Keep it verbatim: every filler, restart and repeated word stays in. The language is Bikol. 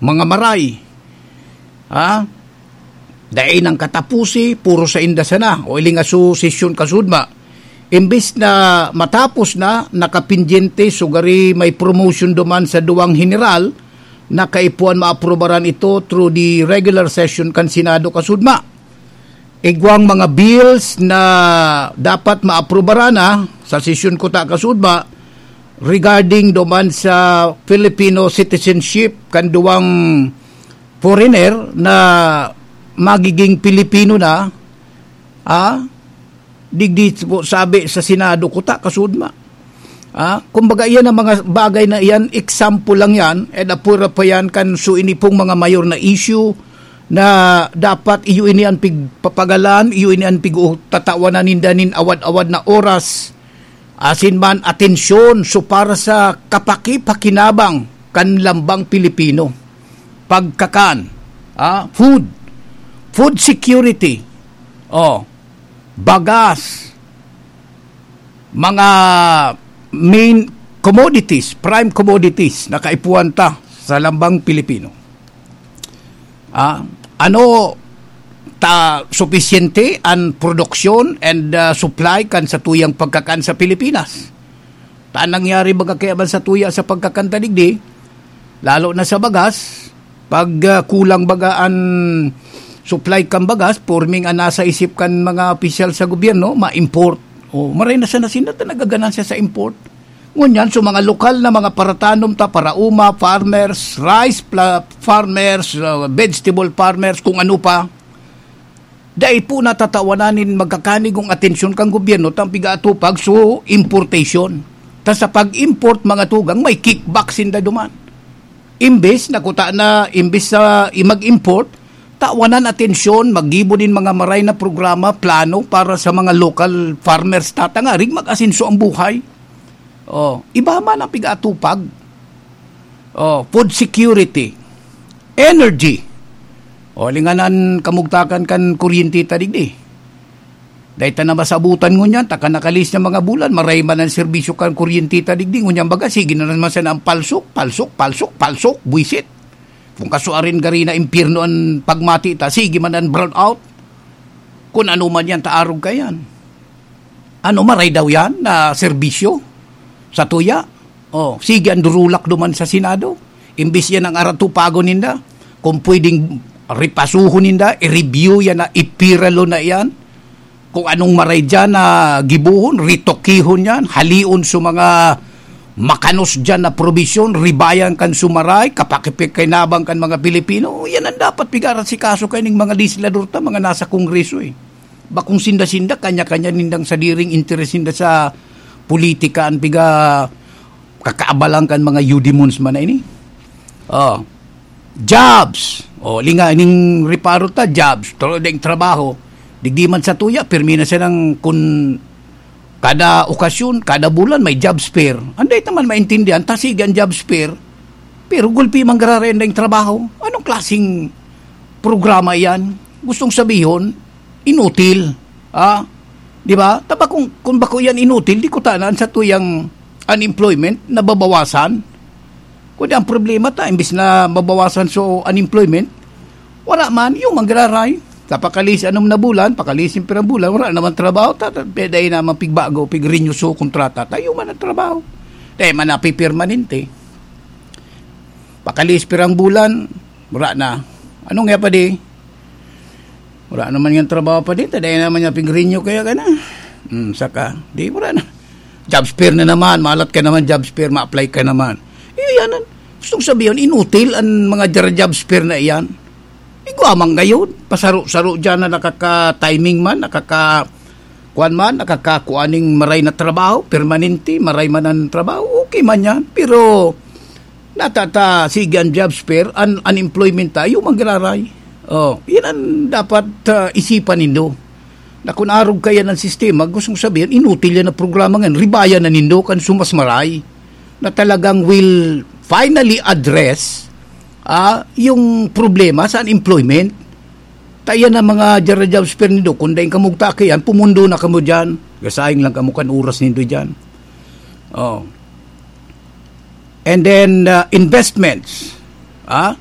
mga maray. Ha? Dai nang katapusi, puro sainda sana. O ilinga su sesyon kasudma. Imbis na matapos na, nakapindyente, sugari may promotion duman sa duwang general, na kaipuhan maaprobaran ito through the regular session kan Senado kasudma. Igwang mga bills na dapat maaprobaran na sa sesyon kuta kasudma regarding duman sa Filipino citizenship kan duwang foreigner na magiging Pilipino na, ah, digdi po sabi sa Senado kuta kasudma. Ah, kumbaga, iyan ang mga bagay na iyan, example lang yan, and apura pa yan kan su ini pong mga mayor na issue na dapat iyo ini an pigpapagalan, iyo ini an pigtatawanan ninda nin awad-awad na oras, asin man atensyon, so para sa kapakipakinabang kan lambang Pilipino. Pagkakan, ah, food, food security, oh, bagas, mga main commodities, prime commodities na kaipuhan ta sa lambang Pilipino. Ah, ano ta supisyente an produksyon and, ah, supply kan satuyang pagkakan sa Pilipinas? Ta nangyari baga kaya man satuya sa pagkakan ta digdi, lalo na sa bagas, pag, ah, kulang baga an supply kan bagas, porming an nasa isip kan mga opisyal sa gobyerno, ma-import. O, maray na sana sinda ta nagaganansya sa import. Ngunyan, so mga lokal na mga paratanom ta, parauma, farmers, rice pla-, farmers, ah, vegetable farmers, kung ano pa, dai po natatawanan nin magkakanigong atensyon kan gobyerno ta an pigaatupag so importation. Ta sa pag-import, mga tugang, may kickback sinda duman. Imbes na kuta na, imbes sa i-, mag-import, tawanan atensyon, maggibo nin mga maray na programa, plano para sa mga local farmers ta tangarig mag-asenso ang buhay. Oh, iba man ang pigaatupag. Oh, food security, energy. Oh, linganan kamugtakan kan kuryente ta digdi. Dai ta na masabutan ngunyan, taka nakalis na mga bulan, maray man ang serbisyo kan kuryente ta digdi. Ngunyan baga, sige na naman sana ang palsok, palsok, palsok, palsok, buwisit. Kung kasuarin gari na impyerno ang pagmati ta, sige man ang brownout. Kung ano man yan, taarog ka yan. Ano, maray daw yan na serbisyo sa tuya? Oh, sige ang durulak duman sa Senado. Imbis yan ang aratupagon ninda, kung pwedeng ripasuhon ninda, i-review yan na, ipiralo na yan. Kung anong maray dyan na gibuhon, ritokihon yan, halion sa mga makanos dyan na probisyon, ribayan kan sumaray, kapakipakinabang kan mga Pilipino. Yan ang dapat pigarasikaso kaining mga legislador ta, mga nasa Kongreso eh. Bakong sinda-sinda, kanya-kanya nindang sadiring interes ninda sa politika, an piga kakaabalan kan mga eudemons man na ini. Oh. Jobs. Oh, linga, ining reparo ta, jobs. Tulo ding trabaho. Digdi man sa tuya, pirmi na silang kun kada okasyon, kada bulan, may jobs fair. Anday ta man maintindihan, ta sige an jobs fair. Pero gulpi man gararay ding trabaho. Anong klaseng programa iyan? Gustong sabihon, inutil. Ah, di ba? Taba kung, kung bako yan inutil, di ko tanan sa tuyang unemployment nababawasan. Kundi ang problema ta, imbis na mabawasan so unemployment, wala man, yung manggararay. Sa pakalis anom na bulan, pakalis yung pirang bulan, wala naman trabaho, ta, ta, pwede naman pigbago, pigrenew so kontrata, tayo man ang trabaho. Tayo man na pipermanente. Pakalis pirang bulan, wala na. Anong nga pa di? Wala naman yung trabaho pa di, ta dai naman niya pigrenew kaya ka na. Hmm, saka, di wala na. Jobs fair na naman, malat ka naman, jobs fair, ma-apply ka naman. Iyo yan, gustong sabihin, inutil ang mga jara jobs fair na iyan. Igwa man gayon, pasaro-saro dyan na nakaka-timing man, nakaka-, kuwan man, nakakakuha ning maray na trabaho, permanente, maray man ang trabaho, okay man yan. Pero, natata, sige ang jobs fair, an unemployment tayo, magraray. Oh, yan ang dapat, ah, isipan nindo. Na kung arog kaya ng sistema, gustong sabihin, inutil yan ang programa ngayon, ribayan na nindo, kan sumas maray, na talagang will finally address, ah, yung problema sa unemployment. Ta iyan ang mga jara jobs fair nindo, kung daing kamugta kaiyan, pumundo na kamo dyan. Gasayang lang kamo kan oras nindo dyan. Oh. And then, uh, investments. Ah?